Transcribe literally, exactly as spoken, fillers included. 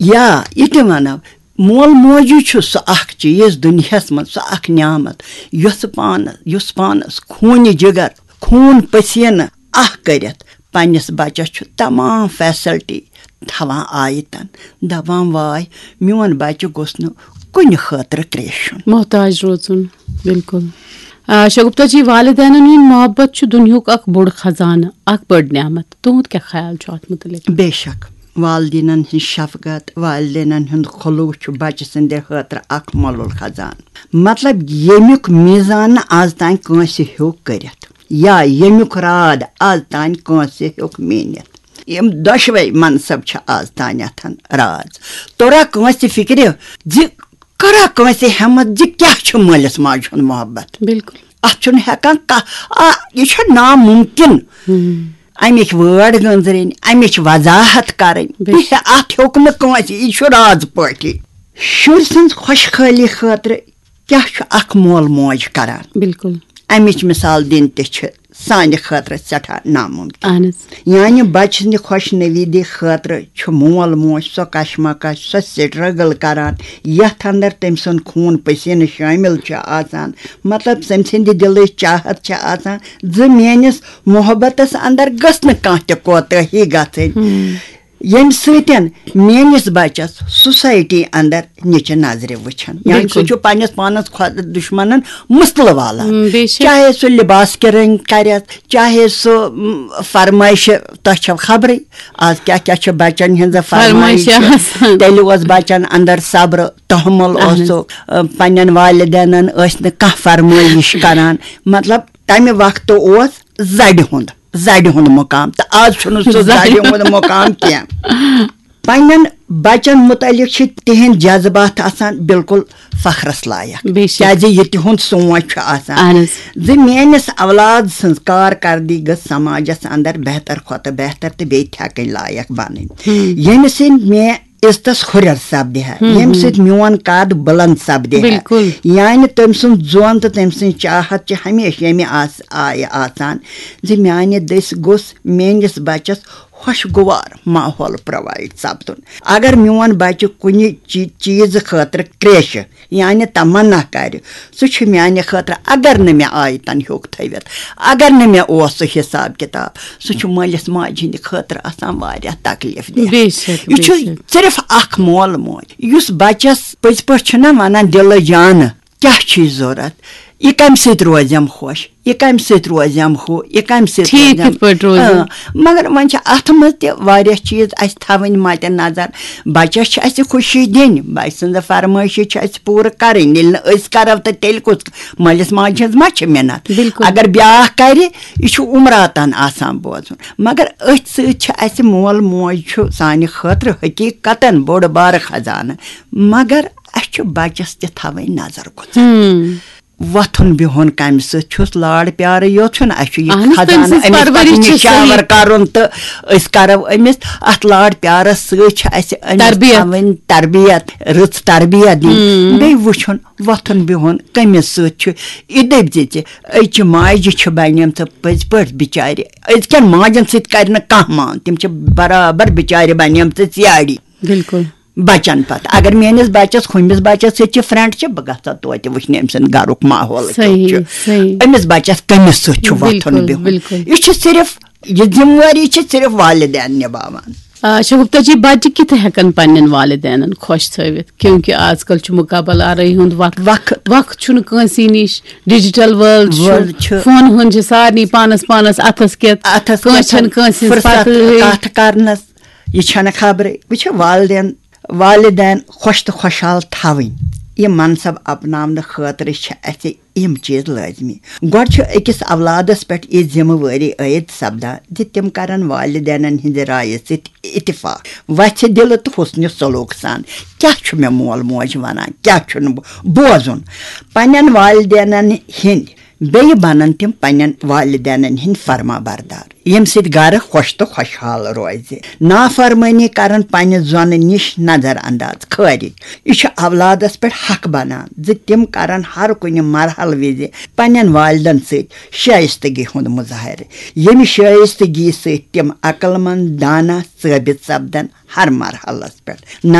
یا یہِ تہِ وَنو، مول موجی چھُ سُہ اکھ چیٖز دُنیاہَس منٛز، سُہ اکھ نعمت، یۄس پانہٕ، یُس پانَس خوٗنہِ جِگر، خوٗن پسیٖنہٕ اکھ کٔرِتھ پننِس بچس چھُ تمام فیسلٹی تھاوان آیتن، دپان، واے، میون بچہِ گوٚژھ نہٕ کُنہِ خٲطرٕ کرٛیشُن۔ محتاج روزُن، بِلکُل۔ آ، شگفتہ جی، والدینن ہُنٛد محبت چھُ دُنیاہُک اکھ بوٚڑ خزانہٕ، اکھ بٔڑ نعمت۔ تُہُنٛد کیٛاہ خیال چھُ اتھ مُتعلق؟ بے شک، والدینن ہٕنٛز شفقت، والدینن ہُنٛد خلوص چھُ بچہٕ سٕنٛدِ خٲطرٕ اکھ مۄلُل خزانہٕ۔ مطلب، ییٚمیُک میزان نہٕ از تام کٲنٛسہِ ہیوٚک کٔرِتھ، یا ییٚمیُک راد از تام کٲنٛسہِ ہیوٚک میٖنِتھ۔ یِم دۄشوے منصب چھِ از تانٮ۪تھ راز۔ توٚرا کٲنٛسہِ فِکرِ زِ، کٔرا کٲنٛسہِ ہٮ۪متھ زِ کیٛاہ چھُ مٲلِس ماجہِ ہُنٛد محبت؟ بِلکُل۔ اتھ چھُنہٕ ہٮ۪کان کانٛہہ، آ، یہِ چھُ نامُمکِن۔ ہُم۔ امِچ وٲڈ گٔنٛزرٕنۍ، امِچ وضاحت کرٕنۍ، بِلکُل۔ یہِ اتھ ہیوٚک نہٕ کٲنٛسہِ، یہِ چھُ راز پٲٹھی۔ شُرۍ سٕنٛز خۄشحٲلی خٲطرٕ کیٛاہ چھُ اکھ مول موج کران؟ بِلکُل۔ امِچ مثال دِنۍ تہِ چھِ سانہِ خٲطرٕ سٮ۪ٹھاہ نامُمکِن۔ اہن حظ۔ یعنی، بچہٕ سٕنٛدِ خۄش نویٖدی خٲطرٕ چھُ مول موج سۄ کشمکش، سۄ سٹرگل کران، یتھ اندر تٔمۍ سُنٛد خوٗن پسیٖنہٕ شٲمِل چھُ آسان۔ مطلب، تٔمۍ سٕنٛدِ دِلٕچ چاہت چھِ آسان زِ میٲنِس محبتس اندر گٔژھ نہٕ کانٛہہ تہِ کوتٲہی گژھٕنۍ۔ ہم۔ ییٚمہِ سۭتۍ میٲنِس بچس سوسایٹی اندر نِچہِ نظرِ وٕچھان، یعنی سُہ بِلکُل۔ چھُ پننِس پانس خۄد دُشمنن مُستلہٕ والان۔ ہم، بے شک۔ چاہے سُہ لباس کہِ رٔنٛگۍ کرٮ۪س، چاہے سُہ، م، فرمٲیشہِ، تۄہہِ چھو خبرٕے، آز کیٛاہ کیٛاہ چھِ بچن ہٕنٛز فرمٲیشہِ فرمٲیشہِ۔ آسان۔ تیٚلہِ اوس بچن اندر صبر، تحمل اہن حظ۔ اوسُکھ، ا، پننٮ۪ن والدینن ٲسۍ نہٕ کانٛہہ فرمٲیش کران۔ مطلب، تمہِ وقتہٕ اوس زرِ ہُنٛد، زرِ ہُنٛد مقام، تہٕ آز چھُنہٕ سُہ زرِ زرِ ہُنٛد مقام کینٛہہ۔ پننٮ۪ن بچن متعلق چھِ تِہنٛدۍ جذبات آسان بالکل فخرس لایق، بے شک۔ کیازِ یہِ تِہُنٛد سونچ چھُ آسان اہن حظ۔ زِ میٲنِس اولاد سٕنٛز کارکردگی گٔژھ سماجس اندر بہتر کھۄتہٕ بہتر تہٕ بیٚیہِ تھٮ۪کٕنۍ لایق بنٕنۍ، ہم۔ ییٚمہِ سۭتۍ مےٚ عزتس ہُرٮ۪ر سپدِ ہا، ہم، ییٚمہِ ہم۔ سۭتۍ میون قد بلند سپدِ ہا۔ بِلکُل۔ یعنی، تٔمۍ سُنٛد زون تہٕ تٔمۍ سٕنٛز چاہت چھِ ہمیشہِ ییٚمہِ آس-، آیہِ آسان زِ میانہِ دٔسۍ گوٚژھ میٲنِس بچس خۄشگوار ماحول پرووایڈ سپدُن۔ اگر میون بچہِ کُنہِ چی-، چیٖزٕ خٲطرٕ کرٛیشہِ، یعنی تمنا کرِ، سُہ چھُ میانہِ خٲطرٕ، اگر نہٕ مےٚ آیتن ہیوٚک تھٲوِتھ، اگر نہٕ مےٚ اوس سُہ حساب کتاب، سُہ چھُ مٲلِس ماجہِ ہٕنٛدِ خٲطرٕ آسان واریاہ تکلیف دہ۔ بے شک، یہِ بے چھُ شک۔ صرف اکھ مول موج، یُس بچس پٔزۍ پٲٹھۍ چھُنہ ونان دِلہٕ جانہٕ، کیٛاہ چھُے ضروٗرت؟ یہِ کَمہِ سۭتۍ روزٮ۪م خۄش؟ یہِ کَمہِ سۭتۍ روزٮ۪م ہُہ؟ یہِ کَمہِ سۭتۍ ٹھیٖک روزٮ۪م؟ کِتھ پٲٹھۍ روزِ؟ اۭں، مگر وۄنۍ چھِ اَتھ منٛز تہِ واریاہ چیٖز اَسہِ تھاوٕنۍ مَدِ نظر۔ بَچَس چھِ اَسہِ خوشی دِنۍ، بَچہٕ سٕنٛز فرمٲیشہِ چھِ اَسہِ پوٗرٕ کَرٕنۍ۔ ییٚلہِ نہٕ أسۍ کَرو، تہٕ تیٚلہِ کُس؟ مٲلِس ماجہِ ہٕنٛز ما چھِ مِنت؟ بِلکُل۔ اگر بیٛاکھ کَرِ، یہِ چھُ عمراتَن آسان بوزُن۔ مگر أتھۍ سۭتۍ چھِ اَسہِ مول موج چھُ سانہِ خٲطرٕ حقیٖقتاً بوٚڑ بارٕ خزانہٕ۔ مگر اَسہِ چھُ بَچَس تہِ تھاوٕنۍ نظر گُزر۔ ہم۔ وۄتھُن بِہُن کَمہِ سۭتۍ چھُس؟ لاڑ پیارٕ یوت چھُنہٕ، اَسہِ چھُ یہِ اہن حظ، تٔمۍ خزانہٕ سٕنٛز أمِس پَتہٕ پرؤرِش چھِ نِشاوَر صحیح۔ کَرُن، تہٕ أسۍ کَرو أمِس اَتھ لاڑ پیارَس سۭتۍ چھِ اَسہِ أمِس تربیت۔ تھاوٕنۍ تربیت، رٕژ تربیت دِنۍ۔ ہم۔ بیٚیہِ وٕچھُن وۄتھُن بِہُن کٔمِس سۭتۍ چھُ۔ یہِ دٔپۍ زِ ژےٚ أزچہِ ماجہِ چھِ بَنیمژٕ پٔزۍ پٲٹھۍ بِچارِ، أزکٮ۪ن ماجَن سۭتۍ کَرِ نہٕ کانٛہہ مان، تِم چھِ برابر بِچارِ بَنیمژٕ ژیاڑِ۔ بِلکُل۔ بَچَن پَتہٕ۔ اگر میٛٲنِس بَچَس، ہُمِس بَچَس سۭتۍ چھِ فرینڈ چھِ، بہٕ گژھٕ ہا توتہِ وٕچھنہِ أمۍ سُنٛد گَرُک ماحول کیُتھ صحیح، چھُ۔ صحیح۔ أمِس بَچَس کٔمِس سۭتۍ چھُ وۄتھُن بِلکُل، بِہُن۔ بِلکُل۔ یہِ چھِ صرف، یہِ ذِمہٕ وٲری چھِ صرف والدین نِباوان۔ آ، شگفتہ جی، بَچہِ کِتھ ہٮ۪کَن پنٛنٮ۪ن والدینَن خۄش تھٲوِتھ؟ کیونکہ آز کل چھُ مُقابلہٕ آرٲیی ہُنٛد وقت۔ وقت۔ وقت چھُنہٕ کٲنٛسی نِش، ڈیجیٹل ورلڈ چھُ، ورلڈ چھُ۔ فون ہُنٛد چھُ سارنٕے پانَس پانَس اَتھَس کٮ۪تھ۔ اَتھَس کٲنٛسہِ کٮ۪تھ چھَنہٕ کٲنٛسہِ ہٕنٛز فرصت پَتہٕے۔ کَتھ کَرنَس۔ یہِ چھَنہٕ خبرٕے۔ وٕچھِو، والدین، والدین خۄش تہٕ خۄشحال تھاوٕنۍ، یہِ منصب اپناونہٕ خٲطرٕ چھِ اَسہِ یِم چیٖز لٲزمی۔ گۄڈٕ چھُ أکِس اولادس پٮ۪ٹھ یہِ ذمہٕ وٲری عٲید سپدان زِ تِم کرن والدینن ہٕنٛزِ رایہِ سۭتۍ اتفاق، وژھِ دِلہٕ تہٕ حسنِ سلوک سان۔ کیٛاہ چھُ مےٚ مول موج ونان، کیٛاہ چھُنہٕ بو-، بوزُن؟ پننٮ۪ن والدینن ہٕنٛدۍ بیٚیہِ بنن تِم پننٮ۪ن والدینن ہٕنٛدۍ فرما بردار، ییٚمہِ سۭتۍ گرٕ خۄش تہٕ خۄشحال روزِ۔ نافرمٲنی کرن پننہِ زۄنہٕ نِش نظر انداز، خٲرج۔ یہِ چھُ اولادس پٮ۪ٹھ حق بنان زِ تِم کرن ہر کُنہِ مرحلہٕ وِزِ پننٮ۪ن والدن سۭتۍ شائستگی ہُنٛد مظاہرٕ، ییٚمہِ شائستگی سۭتۍ تِم عقل مند، دانا ثٲبت سپدن ہر مرحلس پٮ۪ٹھ۔ نہ